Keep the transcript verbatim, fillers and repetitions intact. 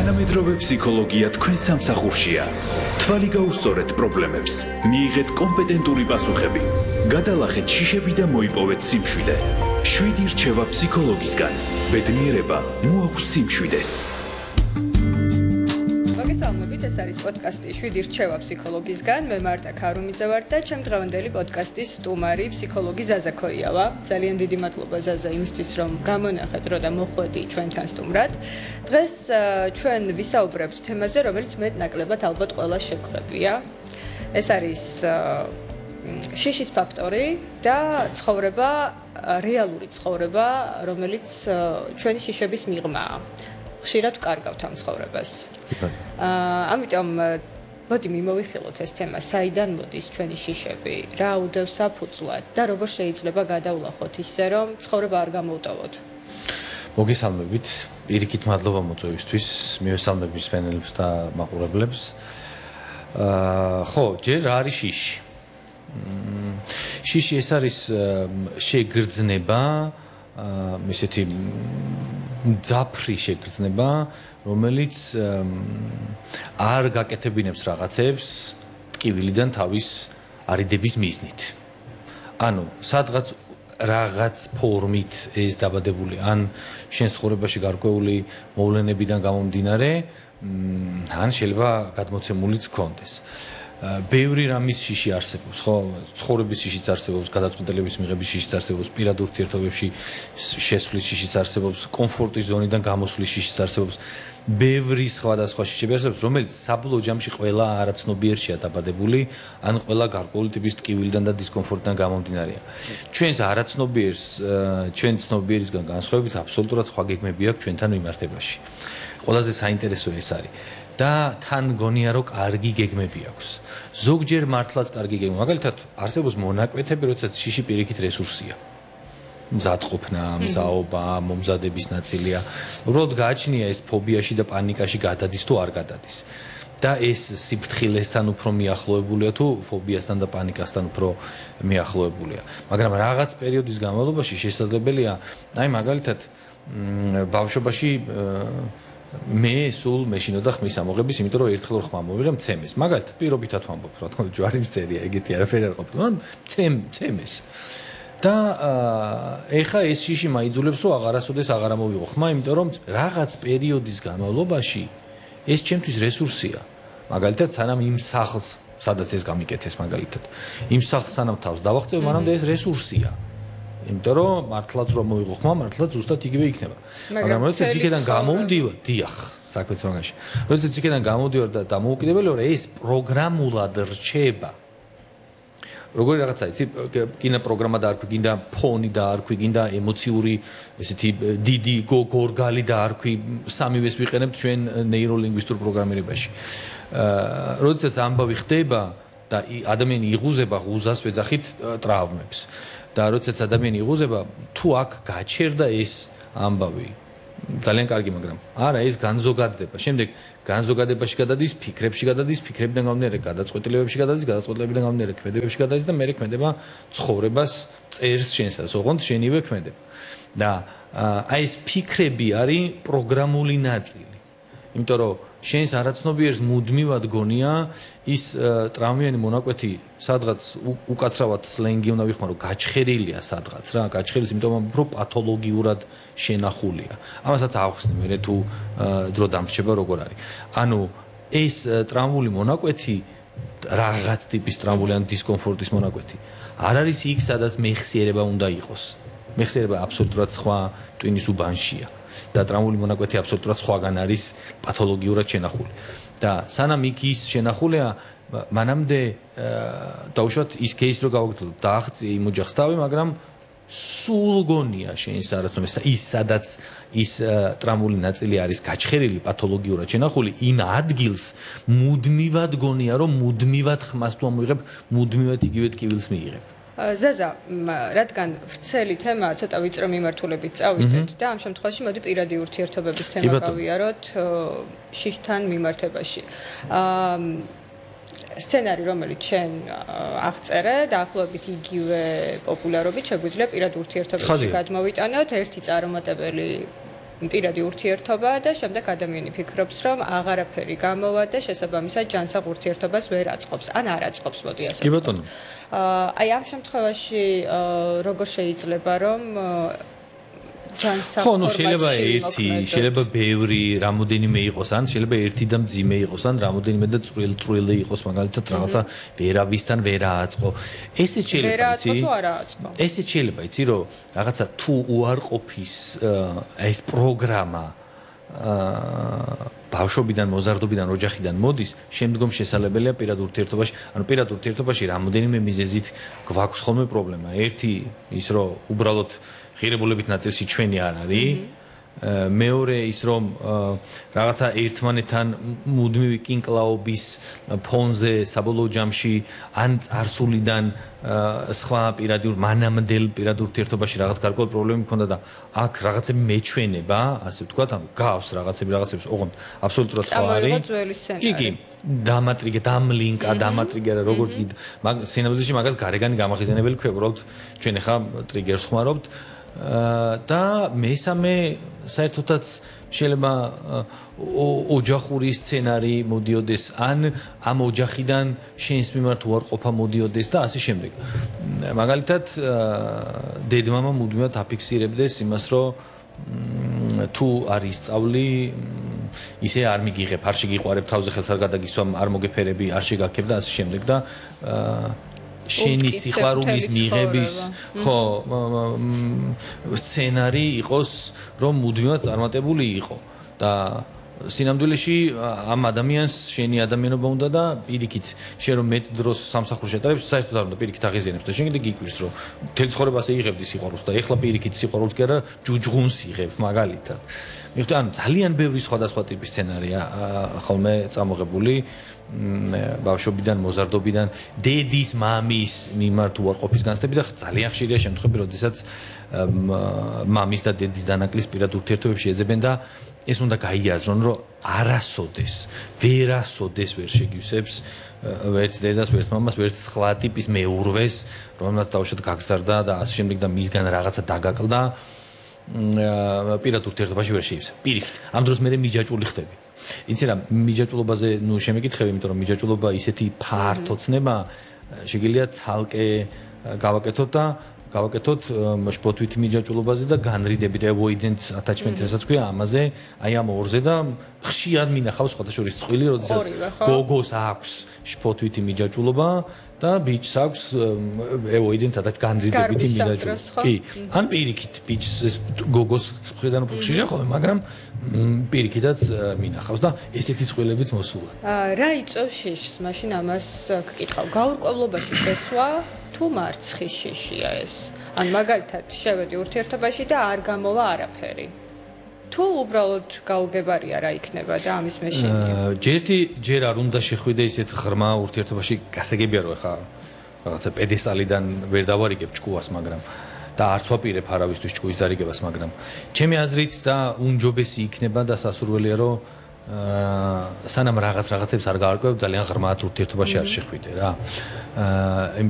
თანამედროვე ფსიქოლოგია თქვენ სამსახურშია. თვალი გაუსწორეთ პრობლემებს, მიიღეთ კომპეტენტური პასუხები, გადალახეთ შიშები და მოიპოვეთ სიმშვიდე. შვიდი რჩევა ფსიქოლოგისგან. ბედნიერება მოაქვს სიმშვიდეს. მოგესალმებით, ეს არის პოდკასტი შვიდი რჩევა ფსიქოლოგისგან. მე მარტა ქარუმიძე ვარ და ჩემ დღევანდელი პოდკასტის სტუმარი ფსიქოლოგი ზაზა ქოიავა. ძალიან დიდი მადლობა ზაზა იმისთვის, რომ გამონახეთ დრო და მოხვედი ჩვენთან სტუმრად. დღეს ჩვენ ვისაუბრებთ თემაზე, რომელიც მეტნაკლებად ალბათ ყველა შეგხვდებია. ეს არის შიშის ფაქტორი და ცხოვრება, რეალური ცხოვრება, რომელიც ჩვენი შიშების მიღმაა. ხშირად ვკარგავთ ამ ცხოვრებას. ამიტომ მოდი მიმოვიხილოთ ეს თემა, საიდან მოდის ჩვენი შიშები, რა უდევს საფუძვლად და როგორ შეიძლება გადავლახოთ ისე, რომ ცხოვრება არ გამოვტოვოთ. მოგესალმებით, პირიქით მადლობა მოწვევისთვის, მივესალმებით მსმენელებს და მაყურებლებს. ხო, ჯერ რა არის შიში? შიში ეს არის შეგრძნება, ესეთი მძაფრი შეგრძნება, რომელიც არ გაკეთებინებს რაღაცებს ტკივილიდან თავის არიდების მიზნით. ანუ სადღაც რაღაც ფორმით ეს დაბადებული, ან შენ ცხოვრებაში გარკვეული მოვლენებიდან გამომდინარე, ან შეიძლება გადმოცემულიც გქონდეს. ბევრი რამის შიში არსებობს, ხო? ცხოვრების შიშიც არსებობს, გადაწყვეტილების მიღების შიშიც არსებობს, პირად ურთიერთობებში შესვლის შიშიც არსებობს, კომფორტის ზონიდან გამოსვლის შიშიც არსებობს. ბევრი სხვადასხვა შიშები არსებობს, რომელიც საბოლოო ჯამში ყველა არაცნობიერშია დაბადებული, ან ყველა გარკვეული ტიპის ტკივილიდან და დისკომფორტიდან გამომდინარეა. ჩვენს არაცნობიერს, ჩვენ ცნობიერისგან განსხვავებით, აბსოლუტურად სხვა გეგმები აქვს ჩვენთან მიმართებაში. ყველაზე საინტერესო ეს არის. და თან გონია რომ კარგი გეგმები აქვს. ზოგჯერ მართლაც კარგი გეგმა. მაგალითად, არსებობს მონაკვეთები, როდესაც შიში პირიქით რესურსია. მზადყოფნა, მზაობა, მომზადების ნაწილია. უბრალოდ გააჩნია ეს ფობიაში და პანიკაში გადადის თუ არ გადადის. და ეს სიფრთხილესთან უფრო მიახლოებულია თუ ფობიასთან და პანიკასთან უფრო მიახლოებულია. მაგრამ რაღაც პერიოდის განმავლობაში შესაძლებელია, აი მაგალითად, ბავშვობაში მე სულ მეშინოდა ხმის ამოღების, იმიტომ რომ ერთხელ ხმა მოვიღე მცემეს. მაგალითად, პირობითად ვამბობ, რა თქმა უნდა, ჯვარი მწერია, ეგეთი არაფერი არ ყოფილა, მაგრამ მცემ მცემეს. და ეხა ეს შიში მაიძულებს, რომ აღარასოდეს აღარ ამოვიღო ხმა, იმიტომ რომ რაღაც პერიოდის განმავლობაში ეს ჩემთვის რესურსია. მაგალითად, სანამ იმ სახლს, სადაც ეს გამიკეთეს მაგალითად, იმ სახლს სანამ თავს დავაღწევ, მანამდე ეს რესურსია. იმიტომ რომ მართლაც რომ მოვიღო ხმა, მართლაც ზუსტად იგივე იქნება. მაგრამ როდესაც იქიდან გამოვდივარ, დიახ, საქმეც მაგაში. როდესაც იქიდან გამოვდივარ და დამოუკიდებელი ვარ, ეს პროგრამულად რჩება. როგორი რაღაცა, იცი, გინდა პროგრამა დაარქვი, გინდა ფონი დაარქვი, გინდა ემოციური, ესეთი დიდი გორგალი დაარქვი, სამივეს ვიყენებთ ჩვენ ნეიროლინგვისტურ პროგრამირებაში. როდესაც ამბავი ხდება და ადამიანი იღუზება, ღუზას ვეძახით ტრავმებს. და როდესაც ადამიანი იღუზება, თუ აქ გაჩერდა ეს ამბავი, ძალიან კარგი, მაგრამ არა, ეს განზოგადდება. შემდეგ განზოგადებაში გადადის, ფიქრებში გადადის, ფიქრებიდან გამომდინარე გადაწყვეტილებებში გადადის, გადაწყვეტილებიდან გამომდინარე ქმედებებში გადადის და მერე ქმედება ცხოვრებას წერს შენსაც, ოღონდ შენივე ქმედება. და აი ეს ფიქრები არის პროგრამული ნაწილი. იმიტომ რომ შენს არაცნობიერს მუდმივად გონია ის ტრავმიანი მონაკვეთი, სადღაც უკაცრავად სლენგი უნდა ვიხმარო, გაჩხერილია სადღაც რა, გაჩხერილი, იმიტომ რომ პათოლოგიურად შენახულია. ამასაც ავხსნი მე თუ დრო დამრჩება როგორ არის. ანუ ეს ტრავმული მონაკვეთი, რაღაც ტიპის ტრავმული ან დისკომფორტის მონაკვეთი, არ არის იქ, სადაც მეხსიერება უნდა იყოს. მეხსიერება აბსოლუტურად სხვა ტვინის უბანშია. და ტრავმული მონაკვეთი აბსოლუტურად სხვაგან არის პათოლოგიურად შენახული. და სანამ იქ ის შენახულია, მანამდე დაუშვათ ის кейსი რო გავაგრძელოთ, დააღწია იმ ოჯახს თავი, მაგრამ სულ გონია შენის არაცნობიერს, ის სადაც ის ტრავმული ნაწილი არის გაჩხერილი, პათოლოგიურად შენახული, იმ ადგილს მუდმივად გონია, რომ მუდმივად ხმას თუ ამოიღებ, მუდმივად იგივე ტკივილს მიიღებ. ზაზა, რადგან ვრცელი თემაა, ცოტა ვიწრო მიმართულებით წავიდეთ და ამ შემთხვევაში მოდი პირადი ურთიერთობების თემა გავიაროთ შიშთან მიმართებაში. სცენარი, რომელიც შენ აღწერე, დაახლოებით იგივე პოპულარობით შეგვიძლია პირად ურთიერთობებში გადმოვიტანოთ. ერთი წარუმატებელი პირადი ურთიერთობა და შემდეგ ადამიანი ფიქრობს, რომ აღარაფერი გამოვა და შესაბამისად ჯანსაღ ურთიერთობას ვერ აწყობს, ან არ აწყობს, მოდი ასე. კი ბატონო. აი ამ შემთხვევაში როგორ შეიძლება რომ ხო, ну შეიძლება ერთი, შეიძლება ბევრი, რამოდენიმე იყოს, ან შეიძლება ერთი და მძიმე იყოს, ან რამოდენიმე და წვრილ-წვრილი იყოს, მაგალითად რაღაცა ვერავისთან ვერ ააწყო. ესეც შეიძლება, იცი? ვერ ააწყო თუ არ ააწყო. ესეც შეიძლება, იცი, რომ რაღაცა თუ უარყოფის ეს პროგრამა აა ბავშვობიდან, მოზარდობიდან, ოჯახიდან მოდის, შემდგომ შესაძლებელია პირად ურთიერთობაში, ანუ პირად ურთიერთობაში რამოდენიმე მიზეზით გვაქვს ხოლმე პრობლემა. ერთი ის რომ უბრალოდ ღირებულებით ნაწილში ჩვენი არ არის. მეორე ის რომ რაღაცა ერთმანეთთან მუდმივი კინკლაობის ფონზე საბოლოო ჯამში ან წარსულიდან სხვა პირადი მანამდელ პირად ურთიერთობაში რაღაც გარკვეული პრობლემები მქონდა და აქ რაღაცები მეჩვენება, ასე ვთქვათ, ანუ გავს რაღაცები რაღაცებს, ოღონდ აბსოლუტურად სხვა არის. კი, კი, დამატრიგე, დამლინკა, დამატრიგე რა როგორც კი მაგ სინამდვილეში მაგას გარეგანი გამახიზენებელი ქვია, უბრალოდ ჩვენ ახლა ტრიგერს ხმარობთ. და მესამე საერთოდაც შეიძლება ოჯახური სცენარი მოდიოდეს ან ამ ოჯახიდან შენს მიმართ უარყოფა მოდიოდეს და ასე შემდეგ. მაგალითად დედმამა მუდმივად აფიქსირებდეს იმას, რომ თუ არის სწავლი ისე არ მიგიღებ, არ შეგიყვარებ, თავზე ხელს არ გადაგისვამ, არ მოგეფერები, არ შეგაქებ და ასე შემდეგ და შენი სიყვარულის მიღების ხო სცენარი იყოს რომ მუდმივად წარმატებული იყო და სინამდვილეში ამ ადამიანს შენი ადამიანობა უნდა და პირიქით შენ რომ მეტ დროს სამსახურში ატარებს საერთოდ არ უნდა პირიქით აღიზიანებს და შენ კიდე გიკვირს რომ მთელ ცხოვრებას იღებდი სიყვარულს და ეხლა პირიქით სიყვარულს კი არა ჯუჯღუნს იღებ მაგალითად მიხვდით ანუ ძალიან ბევრი სხვადასხვა ტიპის სცენარია ხოლმე წამოღებული ბავშვობიდან, მოზარდობიდან, დედის, მამის მიმართ უარყოფის განცდები და ძალიან ხშირია შემთხვევები, როდესაც მამის და დედის დანაკლის პირად ურთიერთობებში ეძებენ და ეს უნდა გაიაზრონ, რომ არასოდეს, ვერასოდეს ვერ შეგივსებს ვერც დედას, ვერც მამას, ვერც სხვა ტიპის მეურვეს, რომელსაც თავშად გაგზარდა და ასე შემდეგ და მისგან რაღაცა დაგაკლდა პირად ურთიერთობაში ვერ შეივსებ. პირიქით, ამ დროს მე მიჯაჭვული ხდები. იცი რა, მიჯაჭვულობაზე ნუ შემეკითხები, იმიტომ რომ მიჯაჭვულობა ისეთი ფართო ცნება, შეგიძლია ცალკე გავაკეთოთ და გავაკეთოთ შპოთვითი მიჯაჭვულობაზე და განრიდებით avoidant attachment რასაც ქვია ამაზე, აი ამ ორზე და ხშირად მინახავს სხვათა შორის წყვილი, როდესაც გოგოს აქვს შპოთვითი მიჯაჭვულობა და ბიჭს აქვს avoidant attachment განრიდებითი მიჯაჭვულობა. კი, ან პირიქით ბიჭს გოგოს მხრიდან უფრო ხშირია ხოლმე, მაგრამ პირიქითაც მინახავს და ესეთი წვილებიც მოსულა. რა იწევს შიშს? მაშინ ამას გკითხავ. გაურკვევლობაში შესვა თუ მარცხის შიშია ეს? ან მაგალითად შევედი ურთიერთობაში და არ გამოვა არაფერი. თუ უბრალოდ გაუგებარია რა იქნება და ამის მეშინია. ჯერთი ჯერ არ უნდა შეხვიდე ისეთ ღრმა ურთიერთობაში, გასაგებია რომ ხა რაღაცა პედესტალიდან ვერ დავარიგებ ჭკუას, მაგრამ და არც ვაპირებ არავისთვის ჭკუის დარიგებას, მაგრამ ჩემი აზრით და უნჯობესი იქნება და სასურველია რომ სანამ რაღაც რაღაცებს არ გავარკვევ, ძალიან ღრმად ურთიერთობაში არ შეხვიდე რა. აა